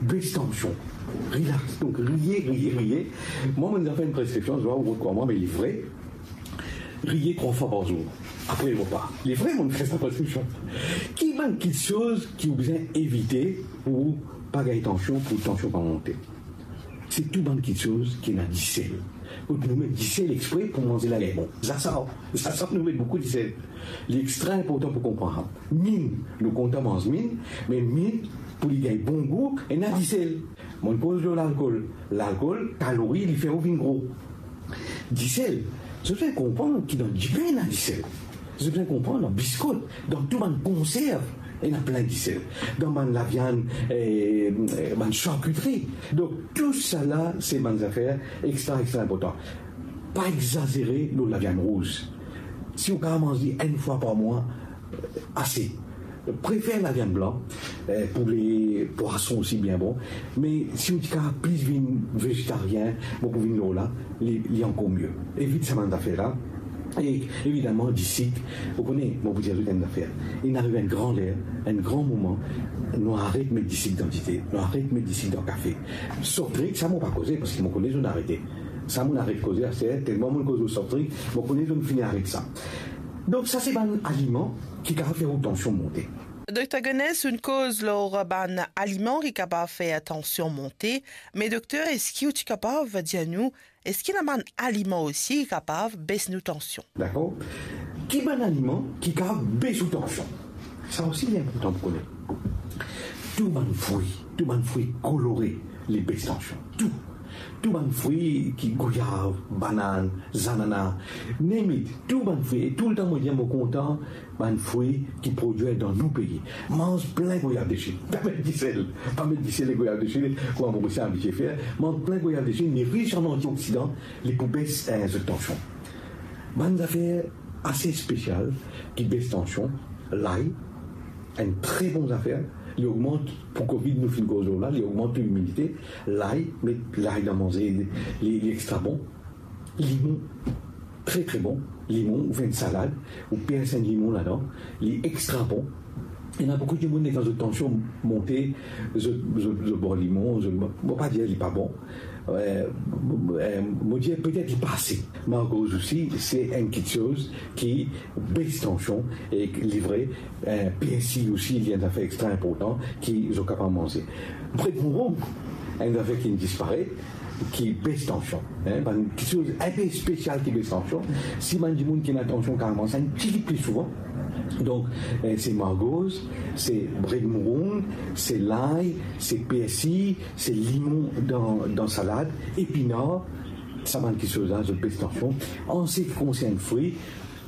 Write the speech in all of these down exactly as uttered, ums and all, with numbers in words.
Bes tansion, relax. Donk, riye, riye, riye. Mwa, mo fer enn preskripsion, zot va rod krwar mwa, me li vre. Riye trwa fwa par zour, apre repa. Li vre, mo fer sa preskripsion. Ki bann kiksoz ki ou bizin evite pou pa gagn tansion, pou tansion pa monte? Se tou bann kiksoz ki ena disel. Kot nou met disel expre pou manze lager bon. Zasar, zasar nou met boukou disel. Li extra inportan pou konpran sa. Minn, nou kontan manz minn, me minn, pou li gagn bon gou, ena disel. Mo koz lor lalkol. Lalkol, kalori, li fer ou vinn gro. Disel, zot bizin konpran ki dan dipin ena disel. Zot bizin konpran dan biskot, dan tou bann konserv, ena plin disel. Dan bann laviann, eh, eh, bann sarkitri. Donk, tou sala, se bann zafer extra, extra inportan. Pa exazere lor laviann rouz. Si ou kapav manz li enn fwa par mwa, eh, ase. Prefer laviann blan, eh, poule, pwason osi bien bon. Me si ou ti kapav plis vinn vezetarien, mo pou vinn lor la, li, li ankor mie. Evit sa bann zafer la. E evidaman, disik, ou kone, mo pou dir zot enn zafer. Inn ariv enn gran ler, enn gran moman, nou aret met disik dan dite, nou aret met disik dan kafe. Soft drink, sa mo pa koze, parski mo kone zot arete. Sa mo aret koze aster, telman mo koz lor soft drink, mo kone zot fini aret sa. Donk, sa se bann aliman ki kapav fer ou tansion monte. Dokter Gonesse, ou'nn koz lor bann aliman ki kapav fer tansion monte, me dokter, eski ou ti kapav dir nou, eski ena bann aliman osi ki kapav bes nou tansion? Dakor. Ki bann aliman ki kapav bes ou tansion? Sa osi, li inportan pou kone. Tou bann fri, tou bann fri kolore, li bes tansion. Tou. Tou bann fri ki goyav, banann, zanana, name it, tou bann fri. E toultan mo dir, mo kontan bann fri ki prodwir dan nou pei. Manz plin goyav de Chine. Pa met disel. Pa met disel lor goyav de Chine, kouma mo ti abitie fer. Manz plin goyav de Chine, li ris an antioksidan, li pou bes, eh, zot tansion. Bann zafer ase spesial ki bes tansion, lay, enn tre bon zafer, li ogmant, pou covid nou finn koz lor la, li ogmant to imidite, lay, met lay dan manze, li, li extra bon. Limon, tre, tre bon. Limon, ou fer enn salad, ou pers enn limon ladan, li extra bon. Ena boukou dimoun, kan zot tansion monte, zot, zot, zot bwar limon, zot, mo pa dir li pa bon. Eh, eh, mo dir petet li pa ase. Margoz osi, se enn kiksoz ki bes tansion, e li vre, eh, persi osi, li enn zafer extra inportan ki zot kapav manze. Bred mouroug, enn zafer ki disparet, ki bes tansion, hein, bann kiksoz inpe spesial ki bes tansion. Si bann dimoun ki ena tansion kapav manz sa enn tigit pli souvan, donk, eh, se margoz, se bred mouroug, se lay, se persi, se limon dan, dan salad, epinar, sa bann kiksoz la, zot bes tansion. An se ki konsern fri,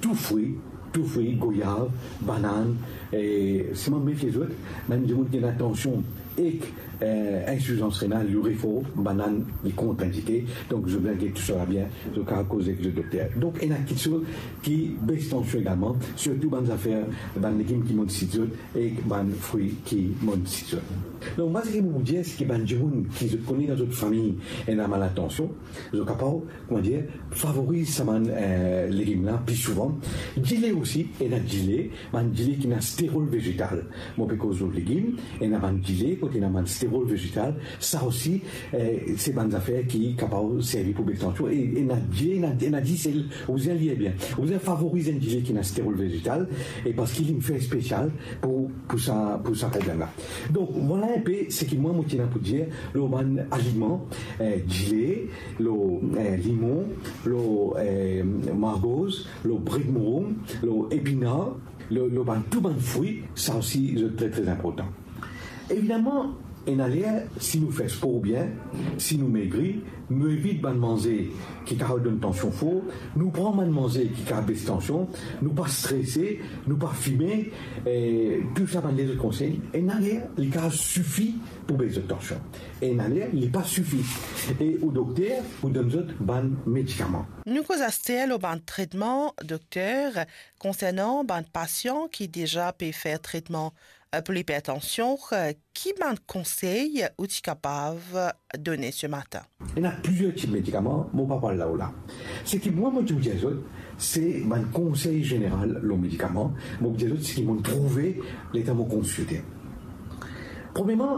tou fri, tou fri, goyav, banann, e selman mefie zot, bann dimoun ki ena tansion ek, eh, insifizans renal, li refor, banann li kontraindike, donk zot bizin get tou sala bien, zot kapav koz ek zot dokter. Donk, ena kiksoz ki bes tansion egalman, sirtou bann zafer, bann legim ki mo ti sit zot, ek bann fri ki mo ti sit zot. Donk, mwa, seki mo pou dir, seki bann dimoun ki zot kone dan zot fami ena malad tansion, zot kapav, kouma dir, favoriz sa bann, eh, legim la pli souvan. Dile osi, ena dile, bann dile ki ena sterol vezetal. Mo pe koz lor legim, ena bann dile kot ena bann sterol vezetal. Sa osi, eh, se bann zafer ki kapav servi pou bes tansion. E ena dile, ena, ena disel, ou bizin lir bien. Ou bizin favoriz enn dile ki ena sterol vezetal, e parski li fer spesial pou, pou sa, pou sa problem la. Donk, vwala inpe seki mwa mo ti ena pou dir lor bann aliman, eh, dile, lor, eh, limon, lor, eh, margoz, lor bred mouroug, lor epinar, lor, lor bann, tou bann fri, sa osi, zot tre, tre inportan. Evidaman, ena ler, si nou fer spor bien, si nou megri, nou evit bann manze ki kapav donn tansion for, nou pran bann manze ki kapav bes tansion, nou pa strese, nou pa fime, e tou sa bann lezot konsey, ena ler, li kapav sifi pou bes zot tansion. Ena ler, li pa sifi. E ou dokter pou donn zot bann medikaman. Nou koz aster lor bann tretman, dokter, konsernan bann pasian ki deza pe fer tretman, eh, pou lipertansion, eh, ki bann konsey ou ti kapav done se matin? Ena plizier tip medikaman, mo pa pou al lor la. Seki mwa, mo ti pou dir zot, se bann konsey zeneral lor medikaman, mo pou dir zot seki mo trouve letan mo konsilte. Premierman,